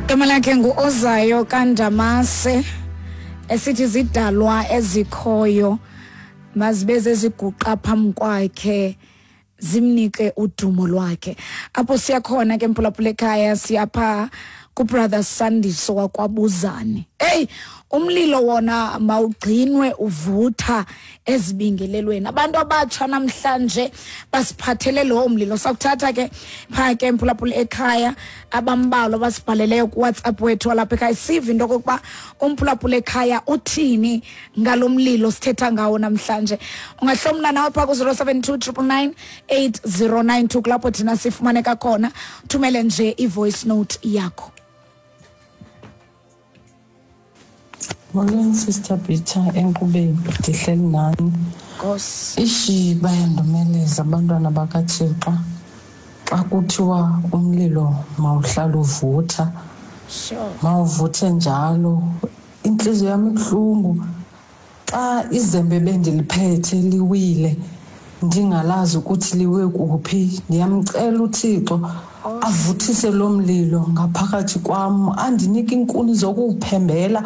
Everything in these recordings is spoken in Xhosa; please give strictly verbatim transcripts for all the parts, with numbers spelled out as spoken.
Igama lakhe ngu-Ozayo kaNdamase, esithi zidalwa ezikhoyo mazibe zeziguqa phambi kwakhe zimnike udumo lwakhe. Apho siyakhona ke mphulaphula ekhaya, siyapha kuBrother Sandiso wakwaBuzane. Hey, umlilo wona mawugcinwe uvutha ezibingelelweni. Abantu abatsha namhlanje basiphathele lo mlilo. Sakuthatha ke pha ke mphulaphula ekhaya abambalwa basibhaleleyo kuWhatsApp wethu walapha ekhaya, sive into okokuba umphulaphula ekhaya uthini ngalo mlilo sithetha ngawo namhlanje. Ungahlomla nawe pha ku zero seven two triple nine eight zero nine two kulapho thina sifumaneka khona. Thumele nje i-voice note yakho. Molweni Sister Peter, enkqubeni ndihleli nani. Nkosi. Ishi bayandomeleza abantwana bakaThixo xa kuthiwa umlilo mawuhlala uvutha. Sure. Mawuvuthe njalo. Intliziyo yam ibuhlungu xa izembe bendiliphethe liwile ndingalazi ukuthi liwe kuphi. Ndiyamcela uThixo avuthise lo mlilo ngaphakathi kwam, andinike iinkuni zokuwuphembela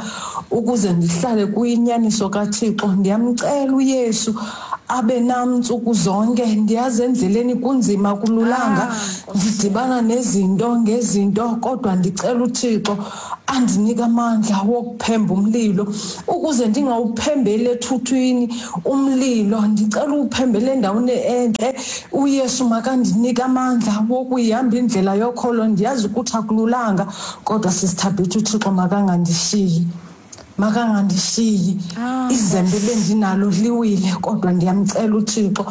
ukuze ndihlale kuyinyaniso kaThixo. Ndiyamcela uYesu abe nam ntsuku zonke. Ndiyazi endleleni kunzima, kululanga, ndidibana nezinto ngezinto, kodwa ndicela uThixo andinike amandla wokuphemba umlilo ukuze ndingawuphembeli ethuthwini umlilo. Ndicela uwuphembele endaweni entle. uYesu makandinike amandla wokuyihamba indlela yokholo. Ndiyazi ukuthi akululanga, kodwa sisithabethu uThixo makangandishiyi, makangandishiyi. Izembe bendinalo liwile, kodwa ndiyamcela uThixo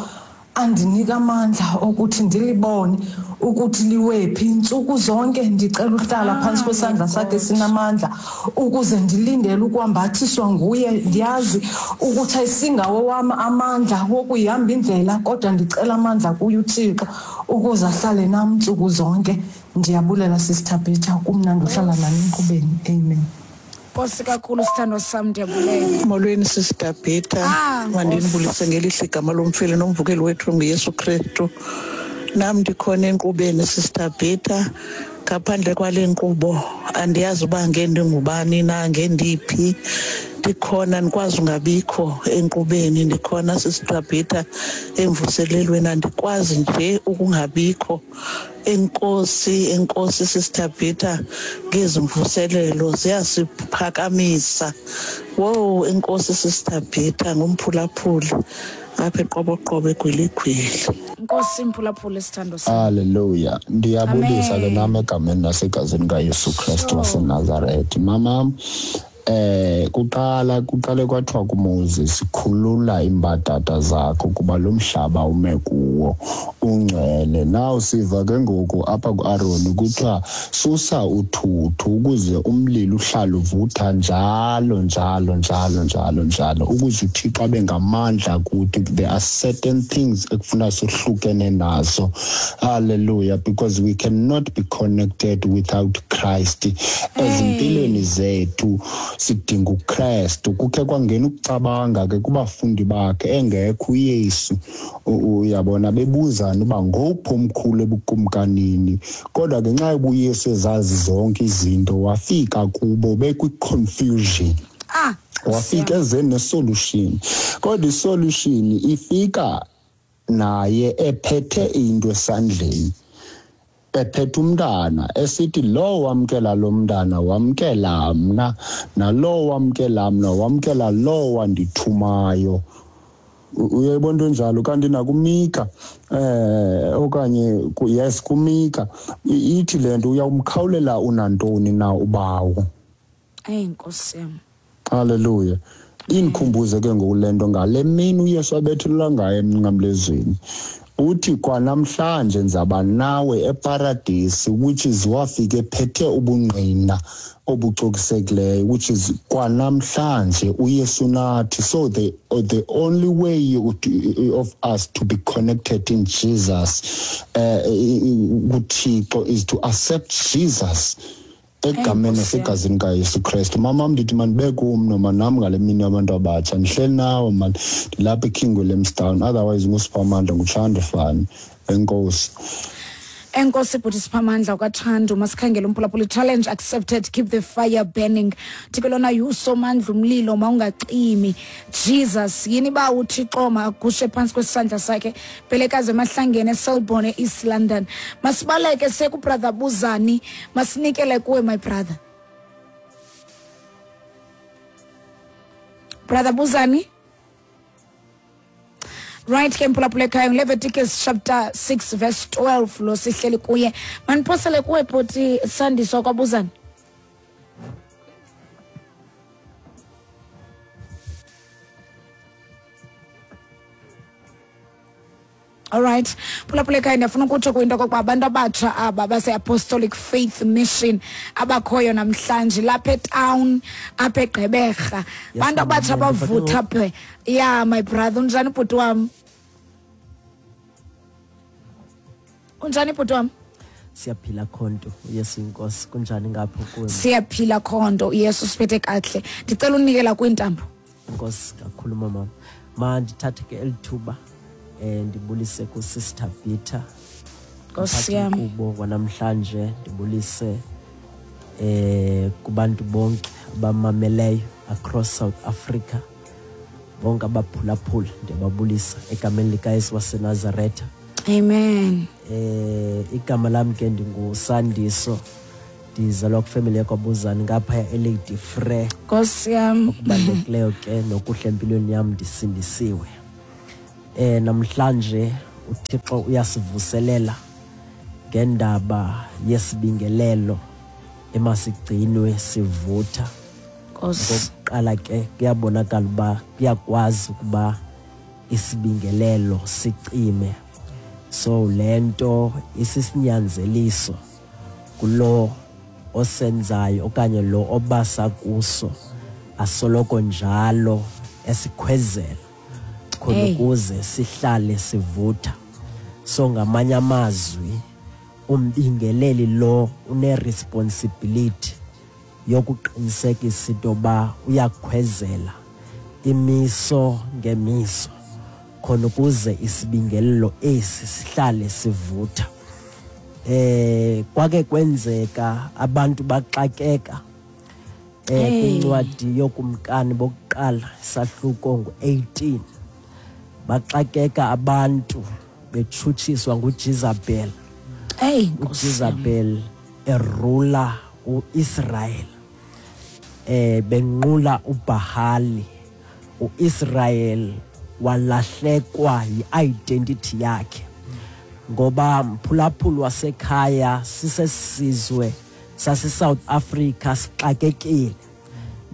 andinika amandla okuthi ndilibone ukuthi liwephi. Ntsuku zonke ndicela uhlala phantsi kwesandla sakhe sinamandla ukuze ndilindele ukwambathiswa nguye. Ndiyazi ukuthi ayisingawo wam amandla wokuyihamba indlela, kodwa ndicela amandla kuye uThixo ukuze ahlale nam ntsuku zonke. Ndiyabulela Sister Peter, kumnandi uhlala nani enkqubeni. Amen. Nkosi kakhulu sithando sam, ndiyabulela. Molweni Sister Peter, Ah, mandinibulise ngelihle igama lomfeli nomvukeli wethu nguYesu Kristu. Nam ndikhona enkqubeni Sister Peter. Ngaphandle kwale nkqubo andiyazi uba ngendingubani na, ngendiphi. Ndikhona, ndikwazi ungabikho enkqubeni. Ndikhona Sister Peter emvuselelweni, andikwazi nje ukungabikho. Enkosi, enkosi Sister Peter ngezi mvuselelo ziyasiphakamisa. Wow, enkosi Sister Peter ngumphulaphuli apha eQoboqobo eGwiligwili. Nkosi mphulaphuli sithando sam. Hallelujah. Ndiyabulisa ke Amen. nami egameni nasegazini kaYesu Kristu Sure. waseNazaretha. Mama, eh kuqala kuqale kwathiwa kuMoses, khulula imbadada zakho kuba lo mhlaba ume kuwo ungcwele. Now siva ke ngoku apha kuAron kuthiwa susa uthuthu ukuze umlilo uhlale uvutha njalo njalo njalo njalo njalo, ukuze uThixo abe ngamandla kuthi. There are certain things ekufuna sohlukene nazo. Hallelujah, because we cannot be connected without Christ. Ezimpilweni zethu sidinga uKristu. Kukhe kwangena ukucabanga ke kubafundi bakhe engekho uYesu, uyabona, bebuzana uba ngowuphi omkhulu ebukumkanini. Kodwa ngenxa yoba uYesu ezazi zonke izinto, wafika kubo bekwi-confusion. Ah, wafika eze ne-solution, kodwa i-solution ifika naye ephethe into esandleni, ephethe umntana, esithi lo wamkela lo mntana wamkela mna, nalo wamkela mna wamkela lo wandithumayo. Uyayibona into enjalo. Kanti nakuMika, eh okanye yes kuMika ithi le nto, uyawumkhawulela unantoni na ubawo. Eyi Nkosi yam. Hallelujah. Indikhumbuze ke ngoku le nto ngale mini uYesu abethelelwa ngayo emnqamlezweni. Uthi kwanamhlanje ndizaba nawe eparadisi, which is wafika ephethe ubungqina obucokisekileyo, which is kwanamhlanje uYesu nathi. So the, the only way of us to be connected in Jesus, uh, kuThixo, is to accept Jesus egameni nasegazini kaYesu Kristu. Mama, ndithi mandibe kum noma nam ngale mini yabantu abatsha. Ndihleli nawe man, ndilapha eKing Williamstown, otherwise nguSiphamandla nguTshanda Fani. Enkosi. Enkosi bhuti Siphamandla kwaThandu, masikhangele umphulaphuli. Challenge accepted, keep the fire burning. Thixo lona yusomandla umlilo mawungacimi. Jesus yini ba uThixo magushe phansi kwesandla sakhe. Bhelekazi emahlangene eSelborne East London. Masibaleke seku brother Buzani, masinikele kuwe my brother. Brother Buzani. Right ke mphulaphula ekhaya, Leviticus chapter six verse twelve lo sihleli kuye. Maniphosele kuwe bhuti Sandiswa kwaBuzani. All right. Phulaphula ekhaya, ndiyafuna ukutsho kwinto okokuba abantu abatsha aba base-Apostolic Faith Mission abakhoyo namhlanje lapha etown apha eGqeberha. Abantu abatsha abavutha phe. Yeah my brother, unjani bhuti wam? Unjani bhuti wam? Siyaphila khonto, uYesu inkosi. Kunjani ngapho kuwe? Siyaphila khonto, uYesu siphethe kahle. Ndicela unikela kwintambo. Inkosi kakhulu mama. Ma ndithathe ke elithuba eh ndibulise ku Sister Peter. Nkosi yam. Kubo wanamhlanje ndibulise eh kubantu bonke abamameleyo across South Africa. Bonke abaphulaphula ndiyababulisa egameni likaYesu waseNazaretha. Amen. Eh igama lami ke ndinguSandiso. Ndizalwa kwifamily yakwaBuzani ngapha eLady Frere. Nkosi yam. Okubalulekileyo ke nokuhle empilweni yam ndisindisiwe. Eh namhlanje uThixo uyasivuselela ngendaba yesibingelelo emasigcinwe sivutha. Okokuqala ke kuyabonakala uba kuyakwazi ukuba isibingelelo sicime. So lento isisinyanzeliso kulo osenzayo okanye lo obasa kuso asoloko njalo esikhwezela khona ukuze sihlale sivutha. So ngamanye amazwi umbingeleli lo une responsibility yokuqinisekisa into ba uyakhwezela imiso ngemiso khona ukuze isibingelelo esi sihlale sivutha. Eh kwake kwenzeka abantu baxakeka eh kwincwadi yokumkani bokuqala sahluko ngu eighteen. Baxakeka abantu betshutshiswa nguJezebel. Hey, uJezebel erula uIsrael. Eh benqula uBahali. uIsrael walahlekwa yiidentity yakhe. Ngoba mphulaphula wasekhaya sisesizwe sase South Africa sixakekile.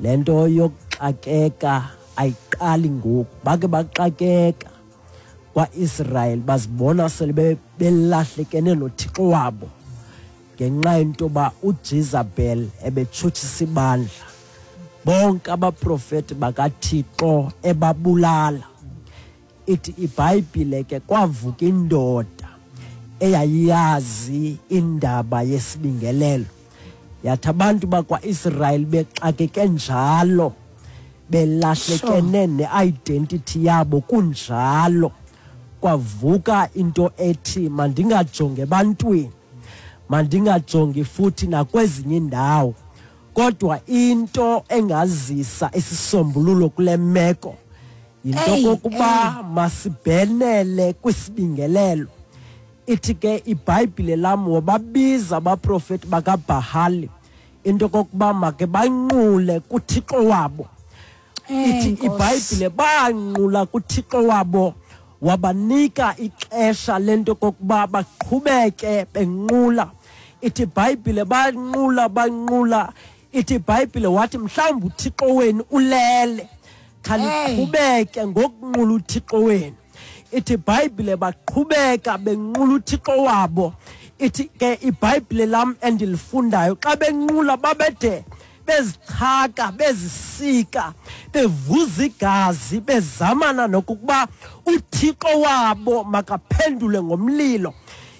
Lento yokuxakeka ayiqali ngoku, bake baxakeka kwaIsrael bazibona sele belahlekene noThixo wabo ngenxa yento ba uJezebel ebetshutshisa ibandla. Bonke abaprofeti bakaThixo ebabulala. Ithi iBhayibhile ke kwavuka indoda eyayiyazi indaba yesibingelelo. Yathi abantu bakwaIsrael bexakeke njalo belahlekene neidentity yabo kunjalo, kwavuka into ethi mandingajonge ebantwini, mandingajongi futhi nakwezinye indawo, kodwa into engazisa isisombululo kule meko yinto kokuba masibhenele kwisibingelelo. Ithi ke iBhayibhile lam wababiza abaprofeti bakaBahali into kokuba make banqule kuThixo wabo. Ithi iBhayibhile banqula kuThixo wabo, wabanika ixesha lento kokuba baqhubeke benqula. Ithi iBhayibhile banqula banqula. Ithi iBhayibhile wathi mhlawumbi uThixo wenu ulele, khaniqhubeke ngokunqula uThixo wenu. Ithi iBhayibhile baqhubeka benqula uThixo wabo. Ithi ke iBhayibhile lam endilifundayo xa benqula babede bezichaka bezisika bevuza igazi bezamana nokuba uThixo wabo makaphendule ngomlilo.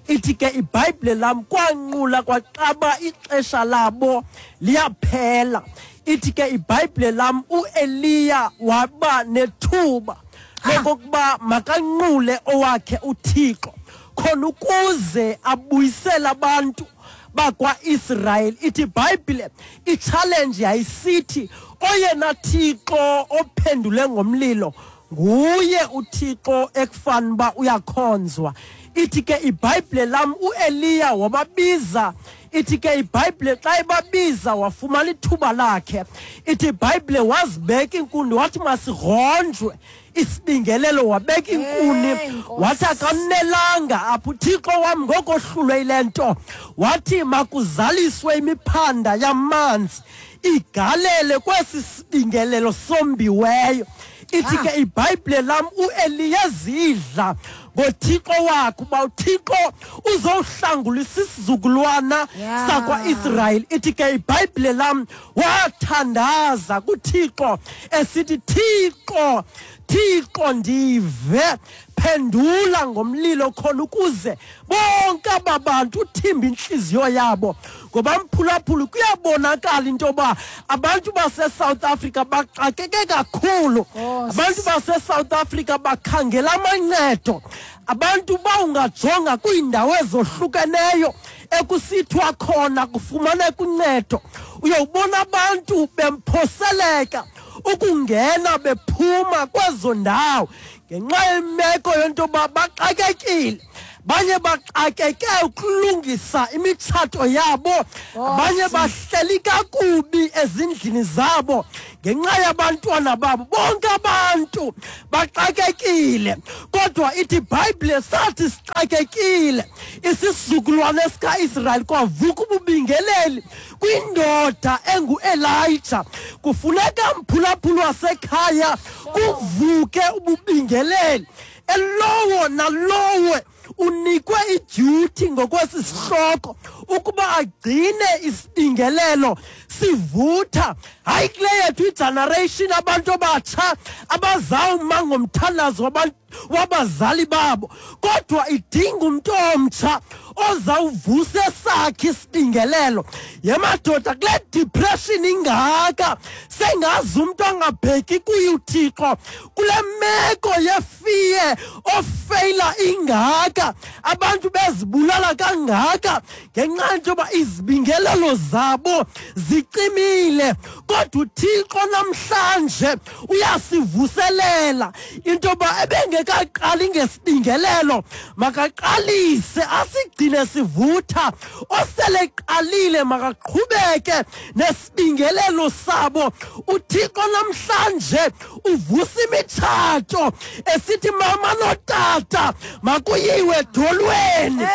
Ithi ke iBhayibhile lam kwanqula kwaxaba ixesha labo liyaphela. Ithi ke iBhayibhile lam uEliya waba nethuba lokokuba makanqule owakhe uThixo, khona ukuze abuyisele abantu bakwa-Israyeli. Ithi iBhayibhile i-challenge yayisithi oyena Thixo ophendule ngomlilo nguye uThixo ekufana uba uyakhonzwa. Ithi ke iBhayibhile lam uEliya wababiza. Ithi ke iBhayibhile xa ebabiza wafumana ithuba lakhe. Ithi iBhayibhile wazibeka inkuni, wathi masironjwe isibingelelo, wabeka inkuni, wathi akamnelanga apho uThixo wam ngokohlulwe yile nto, wathi makuzaliswe imiphanda yamanzi igalele kwesi sibingelelo sombiweyo. Ithi ke iBhayibhile lam uEliya zidla ngoThixo wakhe uba uThixo uzowuhlangulisa isizukulwana sakwa-Israyeli. Ithi ke iBhayibhile lam wathandaza kuThixo esithi, Thixo, Thixo ndive, phendula ngomlilo khona ukuze bonke aba bantu uthimbe inhliziyo yabo. Ngoba mphulaphula kuyabonakala into yoba abantu base-South Africa baxakeke kakhulu. Abantu base-South Africa bakhangela amancedo. Abantu bawungajonga kwiindawo ezohlukeneyo ekusithiwa khona kufumaneka uncedo, uyawubona abantu bemphoseleka ukungena bephuma kwezo ndawo ngenxa yemeko yento yoba baxakekile. Banye baxakeke ukulungisa imitshato yabo, abanye bahleli kakubi ezindlini zabo ngenxa yabantwana babo. Bonke abantu baxakekile, kodwa ithi iBhayibhile sathi sixakekile isizukulwane sikaIsrayeli kwavuka ububingeleli kwindoda enguElijah. Kufuneka mphulaphula wasekhaya kuvuke ububingeleli, elowo nalowo unikwe iduty ngokwesi sihloko ukuba agcine isibingelelo sivutha. Hayi kule yethu igeneration abantu abatsha abazawuma ngomthandazo wabantu wabazali babo, kodwa idinga umntu omtsha ozawuvusa esakhe isibingelelo. Yemadoda, kule depression ingaka sengazi umntu angabheki kuye uThixo, kule meko yefiye ofeyila ingaka, abantu bezibulala kangaka ngenxa yento yoba izibingelelo zabo zicimile. Kodwa uThixo namhlanje uyasivuselela into yoba ebengekaqali ngesibingelelo makaqalise asigcine sivutha. Osele qalile makaqhubeke nesibingelelo sabo. uThixo namhlanje uvusa imitshato esithi mama notata makuyiwe edolweni.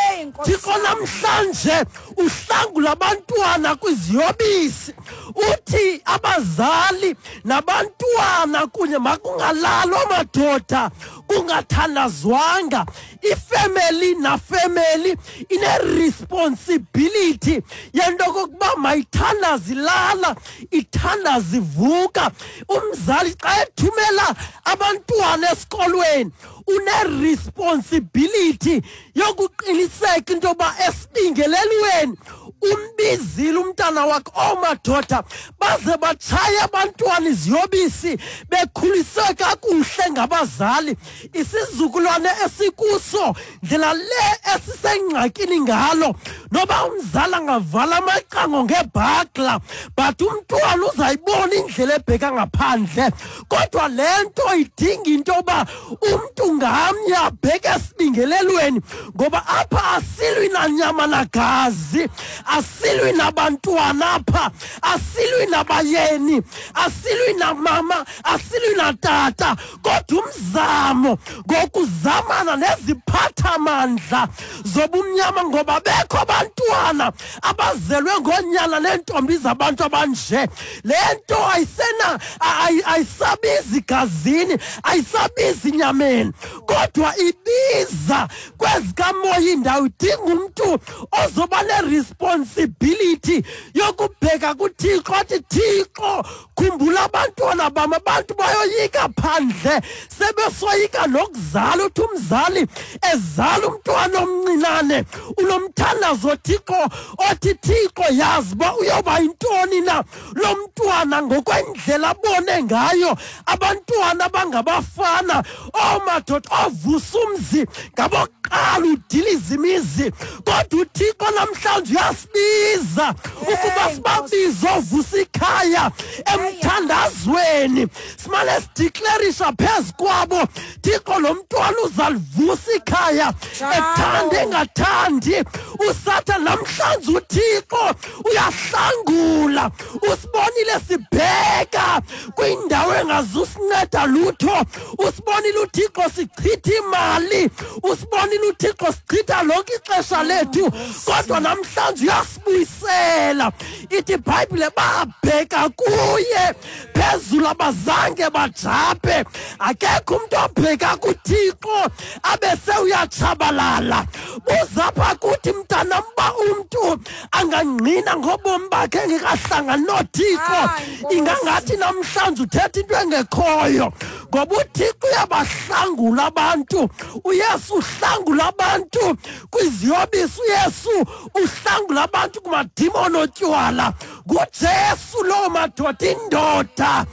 Thixo namhlanje uhlangula abantwana kwiziyobisi, uthi abazali nabantwana kunye makungalalwa madoda kungathandazwanga. Ifemeli nafemeli ine-responsibility yento kokuba mayithandaze ilala, ithandaze ivuka. Umzali xa ethumela abantwana esikolweni une-responsibility yokuqiniseka into yoba esibingelelweni umbizile umntana wakhe. Oomadoda baze batshaye abantwana iziyobisi bekhuliswe kakuhle ngabazali. Isizukulwane esikuso ndlela le esisengxakini ngalo, noba umzali angavala amacango ngebhakla but umntwana uzayibona indlela ebheka ngaphandle. Kodwa le nto idinga into yoba umntu ngamnye abheke esibingelelweni, ngoba apha asilwi nanyama nagazi, asilwi nabantwana apha, asilwi nabayeni, asilwi namama, asilwi natata, kodwa umzamo ngokuzamana neziphathamandla zobumnyama, ngoba bekho abantwana abazelwe ngonyana neentombi zabantu abanje. Le nto ayisena ayisabizi gazini, ayisabizi nyameni, kodwa ibiza kwezikamoya indawo. Idinga umntu ozoba ne-responsibility ability yokubheka kuThixo athi Thixo khumbula abantwana bam. Abantu bayoyika phandle, sebesoyika nokuzala. Uthi umzali ezala umntwana omncinane unomthandazo Thixo othi Thixo yazi uba uyoba yintoni na lo mntwana ngokwendlela abone ngayo. Abantwana bangabafana oomadoda ovusa umzi ngabokuqala udiliza imizi, kodwa uThixo namhlanje uyasibiza ukuba sibabize ovusa ikhaya emthandazweni. Simane sideclarisha phezu kwabo, Thixo lo mntwana uzalivusa ikhaya ethanda engathandi. USathane namhlanje uThixo uyahlangula, usibonile sibheka kwindawo engazusinceda lutho, usibonile uThixo sichitha imali, usibonile uThixo sichitha lonke ixesha lethu, kodwa namhlanje uyasibuyisela. Ithi iBhayibhile babheka kuye phezulu abazange bajabhe. Akekho umuntu obheka kuThixo abese uyatshabalala. Buzapha kuthi mntanam uba umntu angangqina ngobomi bakhe engekahlangani noThixo, ingangathi namhlanje uthetha into engekhoyo, ngoba uThixo uyabahlangula abantu. uYesu uhlangula abantu kwiziyobisi, uYesu uhlangula abantu kumadimoni otywala. NguJesu loo madoda, indoda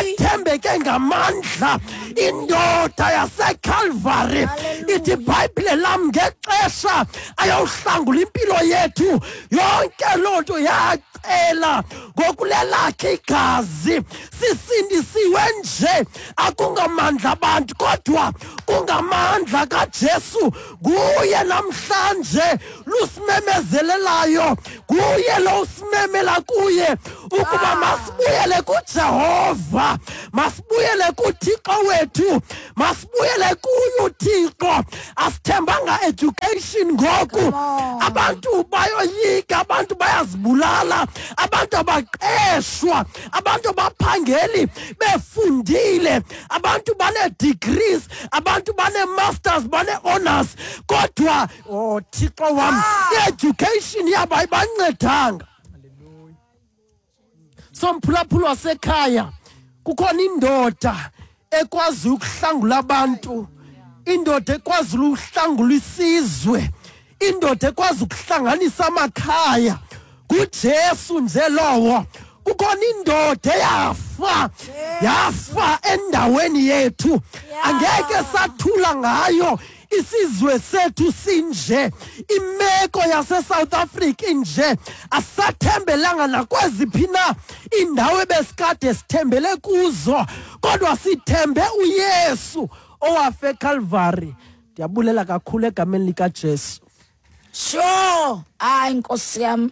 ethembeke ngamandla, indoda yaseCalvary. Ithi iBhayibhile lam ngexesha ayawuhlangula impilo yethu yonke loo nto yacela ngokulelakhe igazi. Sisindisiwe nje, akungamandla abantu kodwa kungamandla kaJesu. Nguye namhlanje lusimemezelelayo, nguye lo usimemela kuye ukuba masibuyele kuJehova, masibuyele kuThixo wethu, masibuyele kuye uThixo. Asithembanga education ngoku, abantu bayoyika, abantu bayazibulala, abantu abaqeshwa, abantu abaphangeli befundile, abantu bane-degrees, abantu bane-masters, bane-honors, kodwa oh Thixo wam, i-education yabo ayibancedanga. Somphulaphula wasekhaya, kukhona indoda ekwazi ukuhlangula abantu, indoda ekwazi ukuhlangula isizwe, indoda ekwazi ukuhlanganisa amakhaya. NguJesu nje lowo. Kukhona indoda eyafa, yafa endaweni yethu, angeke sathula ngayo. Isizwe sethu sinje, imeko yase-South Africa inje, asathembelanga nakweziphi na indawo ebesikade sithembele kuzo, kodwa sithembe uYesu owafa eCalvary. Ndiyabulela kakhulu egameni likaJesu. Sure, hayi Nkosi yam,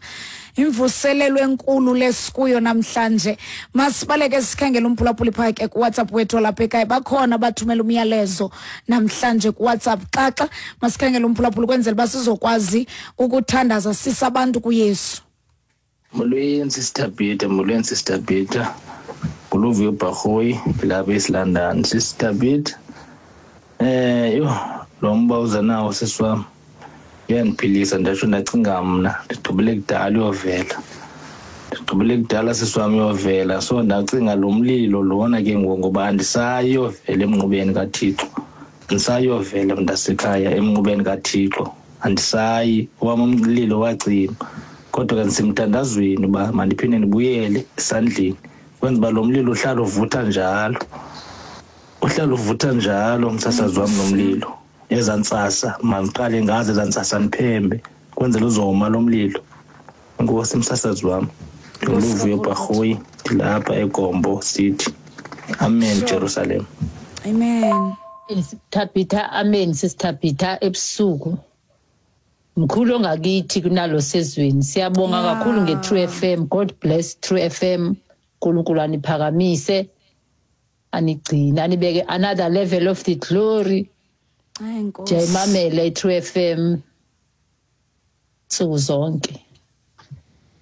imvuselelo enkulu lesikuyo namhlanje. Masibaleke sikhangele umphulaphuli phake kuWhatsApp wethu lapha ekhaya. Bakhona bathumela umyalezo namhlanje kuWhatsApp. Xaxa masikhangele umphulaphuli kwenzela uba sizokwazi ukuthandaza sisabantu kuYesu. Molweni Sister Peter, molweni Sister Peter. Nguluvuyo Bharhoyi lapha eSilondon. Sister Peter, eh yho lo mba uza nawo sisi wam uyandiphilisa, ndatsho ndacinga mna ndigqibele kudala uyovela, ndigqibele kudala sisi wam uyovela. So ndacinga lo mlilo lona ke ngoku ngoba andisayi uyovela emnqubeni kaThixo, andisayi uyovela mntasekhaya emnqubeni kaThixo, andisayi. Owam umlilo wacima, kodwa ke ndisemthandazweni uba mandiphinde ndibuyele esandleni kwenza uba lo mlilo uhlala uvutha njalo, uhlala uvutha njalo msasazi wam lo mlilo. Ezaa ntsasa mandiqale ngazo ezaa ntsasa ndiphembe kwenzela uzoma lo mlilo. Enkosi msasazi wam. Ndinguluvuyo Bharhoyi, ndilapha eGombo City. Amen. Sure. Jerusalem. Amen. Thabitha, amen Sister Peter. Ebusuku mkhulu ongakithi kunalo sezweni. Siyabonga Yeah. kakhulu nge-True F M. God bless True F M. uNkulunkulu aniphakamise, anigcine, anibeke another level of the glory. Hayi Nkosi. Ndiyayimamela i-True F M nsuku zonke,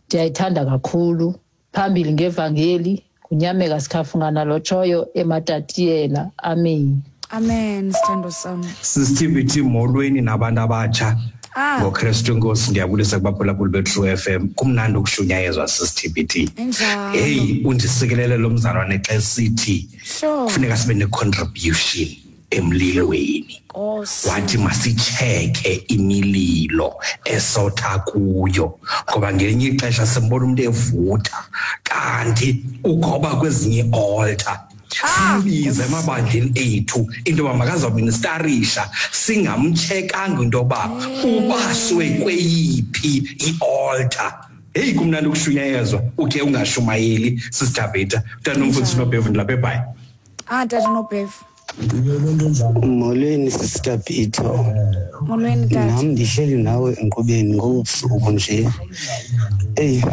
ndiyayithanda kakhulu. Phambili ngevangeli, kunyameka sikhafungana lotshoyo ematatiyela. Amen. Amen sithando sam. Sisithibiti, molweni nabantu abatsha. Ah. NgoKristu Nkosi ndiyabulisa kubaphulaphuli beTrue F M. Kumnandi ukushunyayezwa sisi T B T. Enjalo. Hey, undisikelele lo mzalwane xa esithi Sure. kufuneka sibe ne-contribution emlilweni. Nkosi. Wathi masicheke imililo esotha kuyo, ngoba ngelinye ixesha simbona umuntu evutha kanti ugoba kwezinye altar. Simbize emabandleni ethu into yoba makazoministarisha, singamchekanga into yoba ubaswe kweyiphi i-altar. Heyi, kumnandi ukushunyayezwa ukhe ungashumayeli, Sister Beta. Mntana umfundisi Nobhevu, ndilapha eBhayi. Ah, tata Nobhevu. Molweni Sister Beta. Molweni tata. Nam ndihleli nawe enkqubeni ngobusuku nje. Eyi,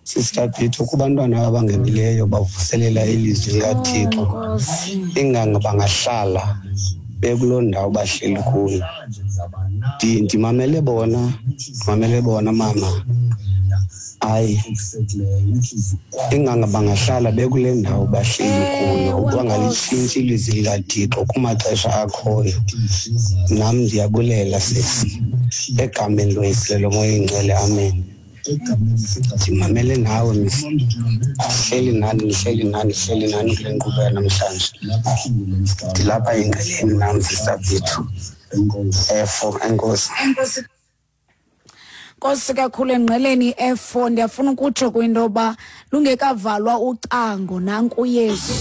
Sister Beta, kubantwana abangenileyo bavuselela ilizwi likaThixo. Inganga bangahlala bekuloo ndawo bahleli kuyo. Ndimamele bona, ndimamele bona mama. Hayi, inganga bangahlala bekule ndawo bahleli kuyo, bangalitshintsha ilizwi likaThixo kumaxesha akhoyo. Nam ndiyabulela sisi, egameni loYise loMoya oyiNgcwele, amen. Ndimamele nawe misi, ndihleli nani, ndihleli nani, ndihleli nani kule nkqubo yanamhlanje. Ndilapha engqeleni nam Sister Beta. Efo, enkosi. Enkosi. Nkosi kakhulu engqeleni F four. Ndiyafuna ukutsho kwinto yoba lungekavalwa ucango nanku uYesu.